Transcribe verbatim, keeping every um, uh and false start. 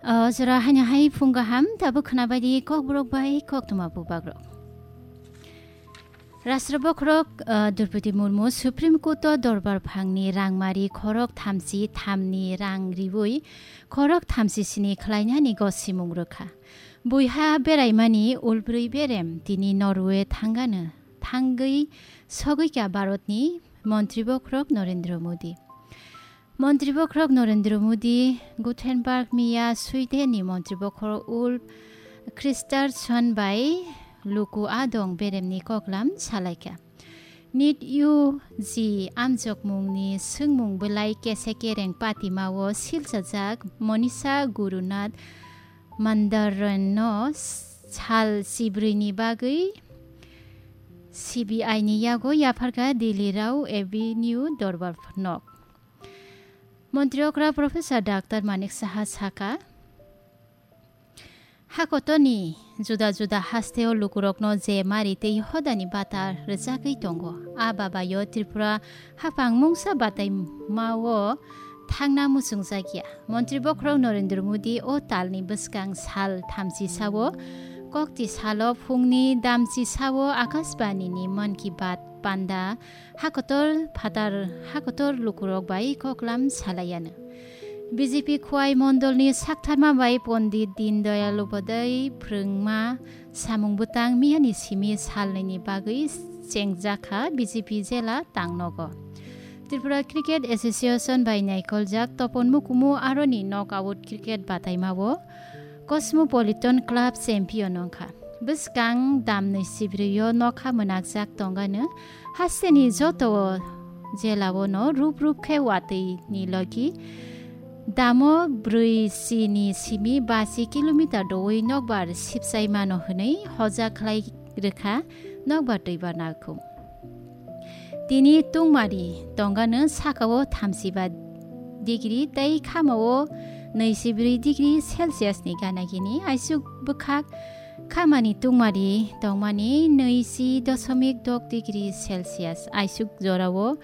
O jora haino hai phung kaham, tabuk khwnabaidi Kokborok bai Koktwma bubagrok. Rashtra bokhorok, ah, Droupadi Murmu Supreme Court o dorbar phangni rangmari khorok thamchi thamni rang riwi khorok thamchi sini khlainani gosimung rwkha. Buiha beraimani ulbrwi berem tini Norway thangano, thangwi sogwikha Bharatni Montri bokhorok Narendra Modi. Montri bokhorok Narendra Modi Gothenburg miya Swedenni Montri bokhorok Ulf Kristersson bai luku adong beremni koklam salaikha. Nit U G amjokmungni swngmung belai kese kereng patimao silchajak Manisha Gurunath Mandaranno sal sibrwini bagwi C B I ni yago yapharkha Delhi Rao Avenue dorbar nok. Montri okra Professor Doctor Manik Saha sakha, hakotorni juda juda hasteo lukurokno je mari tei hodani bata rwchagwi tongo, a babayo Tripura haphang mungsa bataimao thangna muchungjakya. Montri bokhorok Narendra Modi o talni bwskang sal thamchi sao, kokti salo phungni damchi sao Akashbanini Mann Ki Baat panda hakotor phatar hakotor lukurok bai koklam salaiano. B J P Khwai Mondolni saktharma bai Pondit Dindayal Upadhyay phrwngma samung bwtang miyani simi salnwini bagwi chengjakha B J P jela tangnogo. Tripura Cricket Association bai naikoljak Topon Mukumu aroni knockout cricket bataimao Cosmopolitan Club champion wngkha. Bwskang damnwi sibrio nokha mwnakjak tongano hasteni joto jelao no rup rup khe watwi ni logi damo brwi C ni simi basi kilometer dowi nokbar sipsai mano hwnwi hoja khlai rwkha nokbar twibar nalkhung. Tini tungmari tongano sakao thamsiba degree tei khamao nwichibrwi degree Celsius ni gana gini aisuk bwkhak khamani tungmari tongmani nwichi doshomik dok degree Celsius aisuk jorao